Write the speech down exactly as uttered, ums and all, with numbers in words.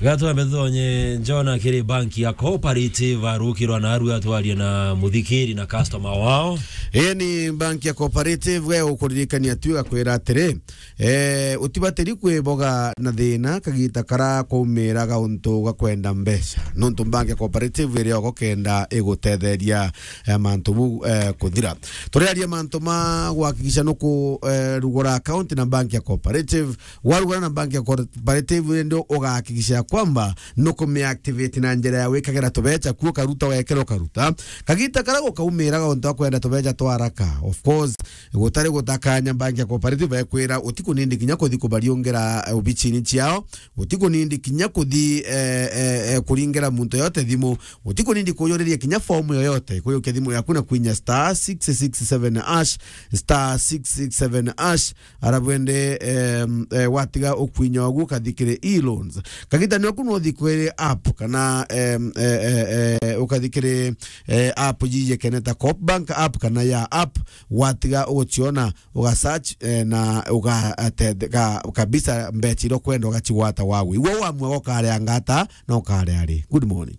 Gatwambe tutonye Jona kiri banki ya Cooperative, arukirwa na arua atwaria na muthikiri na customer wao. Ii ni banki ya Cooperative, we ukuririkania tu igakwira atiri, eh, utibatiri kwiboga na thina kagita kara kwaumiraga untu ga kwenda mbeca. Nontu banki ya Cooperative iri ogo kenda igutetheria, eh, mantu bu, eh, kuthira. Turiaria mantu ma guhakikisha nuku, eh, rugura account na banki ya Cooperative, warugana na banki ya cooperative, ndio ugahakikisha ya kwamba nukumiactivate na njira ya wikagira tubeca kuo, ukaruta, wekera, ukaruta. Kagita kara gukaumiraga untu wa kwenda tubeca twa haraka. Of course, gutari gutakanya, banki ya cooperative ekwira utikunindi kinya kuthi kubariungira, eh, obichini ciao, utikunindi kinya kuthi, eh, eh, eh, kuringira muntu yote thimu, utikunindi kuyuriria kinya fomu yoyote, kuyukia thimu yaku na kwinya star six six seven hash, star six six seven hash, Ara bwende, em, eh, watiga ukwinya ogu ukathi kiri e-loans. Kagita nioku no uthi kiri app kana, em, eh, eh, eh, ukathi kiri, eh, app yiye kene ta Coop Bank app kana ya app, watiga uguciona, uga search, eh, na uga, eh, te-, ka-, kabisa mbeca iria ukwenda ugacigwata wagu. Igwe wamua ukaria ngata na ukaria ri. Good morning.